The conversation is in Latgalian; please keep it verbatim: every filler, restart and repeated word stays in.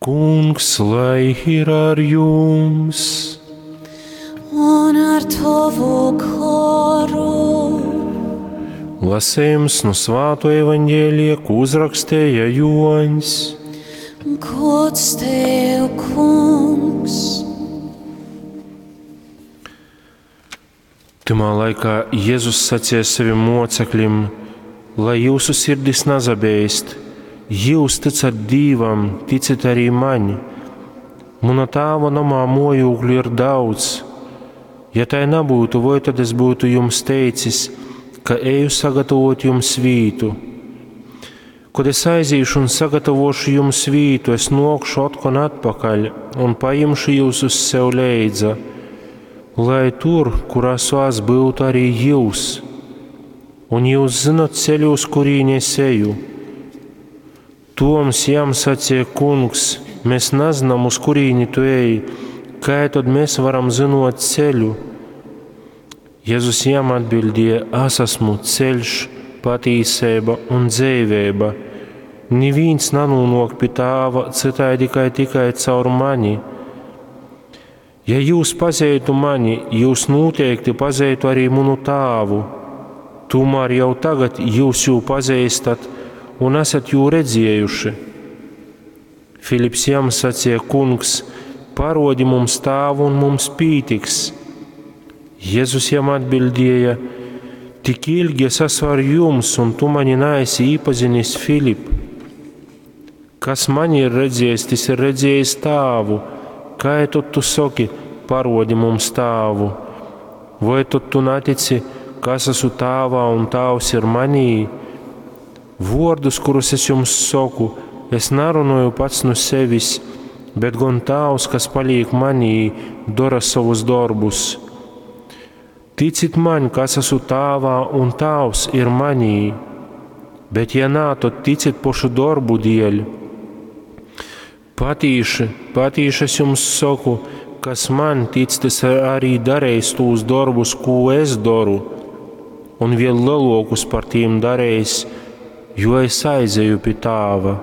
Kungs, lai ir ar jums! Un ar tovu goru. Lasījums no Svāto evaņģēlija, ko uzrakstīja Joņs. Gods tev, kungs! Tymā laikā Jēzus sacīja saviem mocekļiem, lai jūsu sirdis nazabeist, jūs ticat Dīvam, ticit arī maņ. Muna tāva namā mojūkļu ir daudz. Ja tai nebūtu, voi tad es būtu jums teicis, ka eju sagatavot jums vītu? Kad es aizīšu un sagatavošu jums vītu, es nokšu otkon atpakaļ un paimšu jūs uz sev leidza, lai tur, kur esmu es, būtu arī jūs. Un jūs zinat ceļu, uz kurīni es eju. Toms jam sacīja: Kungs, mēs nezinām, uz kurīni tu ej, kā tad mēs varam zinot ceļu? Jēzus jam atbildēja: Es esmu ceļš, patīsība un dzīvība. Neviens nenonāk pie tāva citādi kā tikai caur mani. Ja jūs pazītu mani, jūs noteikti pazītu arī manu tāvu. Tomēr jau tagad jūs jū pazīstat un esat jū redzējuši. Filips jam sacīja: Kungs, parodi mums tāvu un mums pītiks. Jēzus jam atbildēja: Tik ilgi es esmu ar jums, un tu mani neesi iepazinis, Filip. Kas mani ir redzējis, tas ir redzējis tāvu. Kā tad tu saki, parodi mums tāvu? Vai tad tu netici, ka es esmu tāvā un tāvs ir manī? Vārdus, kurus es jums saku, es nerunāju pats no sevis, bet gan tāvs, kas paliek manī, dara savus darbus. Ticit man, ka es esmu tāvā un tāvs ir manī, bet ja nā, tad ticit pošu darbu dēļ. Patīši, patīši es jums saku, kas man tic, tas arī darīs tos darbus, ko es daru, un vēl lielākus par tiem darīs, jo es aizeju pie tāva.